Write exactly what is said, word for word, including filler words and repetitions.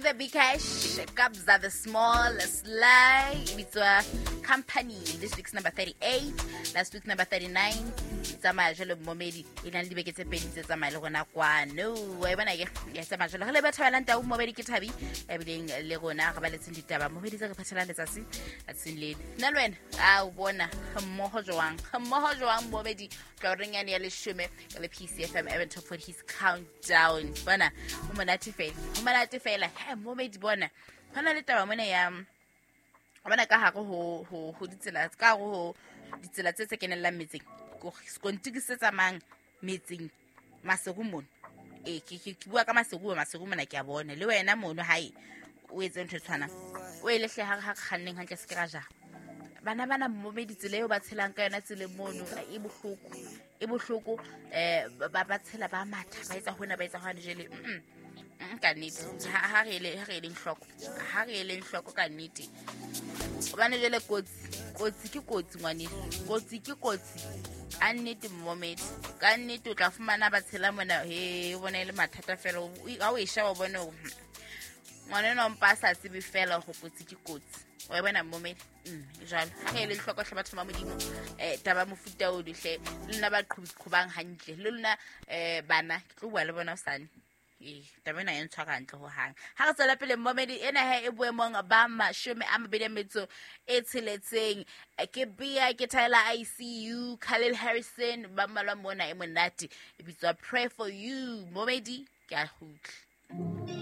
the Big Cash, Kabza the Small, Sly, e bitswa Company. This week's number thirty-eight, last week number thirty-nine. E tsamaya jwalo momedi, e na le dibeke tse pedi tse tsamaya le rona kwano. Wa e bona ke? Ya tsamaya jwalo. Re le ba thabelang tau momedi ke Thabi, ebileng le rona re baletseng ditaba momedi tse re phathelang letsatsi tsatsing lena. Nna le wena, a o bona mmoho jwang? Mmoho jwang momedi? Tla reng yane ya leshome ka le P C F M Urban Top forty Countdown. Bona, o monate fela. O monate fela. He, momedi bona. Hona le taba mona ya bona ka hare ho ho ho ditsela, ka hare ho ditsela tse tse kenellang metseng. Sekontiri se tsamayang metseng Maseru mono. Eh, ke, ke, ke bua ka Maseru, Maseru mona ke a bona. Le wena mono hae o etse ntho e tshwanang. O e lehle ha re, ha re kganneng hantle se ke ra jara. Bana bana momedi tsela eo ba tshelang ka yona tseleng mono e bohloko. E bohloko, eh, ba, ba tshela ba matha, ba etsa hona, ba etsa hwane jwale. Mm-mm. Mm, ka nnete. Ha, ha re ele, ha re eleng hloko. Ha re eleng hloko ka nnete. Hobane jwale kotsi, kotsi ke kotsi ngwaneso. Kotsi ke kotsi. Ka nnete momedi. Ka nnete o tla fumana ba tshela mona, he, o bona e le mathata fela. O, ha o e sheba o bone hore, hmm, ngwana enwa o mpa a sa tsebe fela hore kotsi ke kotsi. Wa e bona momedi? Mm, jwalo. Ha re ele hloko hle batho ba Modimo, eh, taba mofuta o dihle, le lona ba qhobang hantle, le lona, eh, bana, ke tlo bua le bona hosane. Ee, taba ena e ntshwara hantle ho hang. Ha re tswela pele momedi ena he e boemong ba mashome a mabedi a metso e tsheletseng. Ke Bia, ke Tyler I C U, Khalil Harrison, ba mmalwa mona e monate. E bitswa Pray For You. Momedi, ke a kgutla.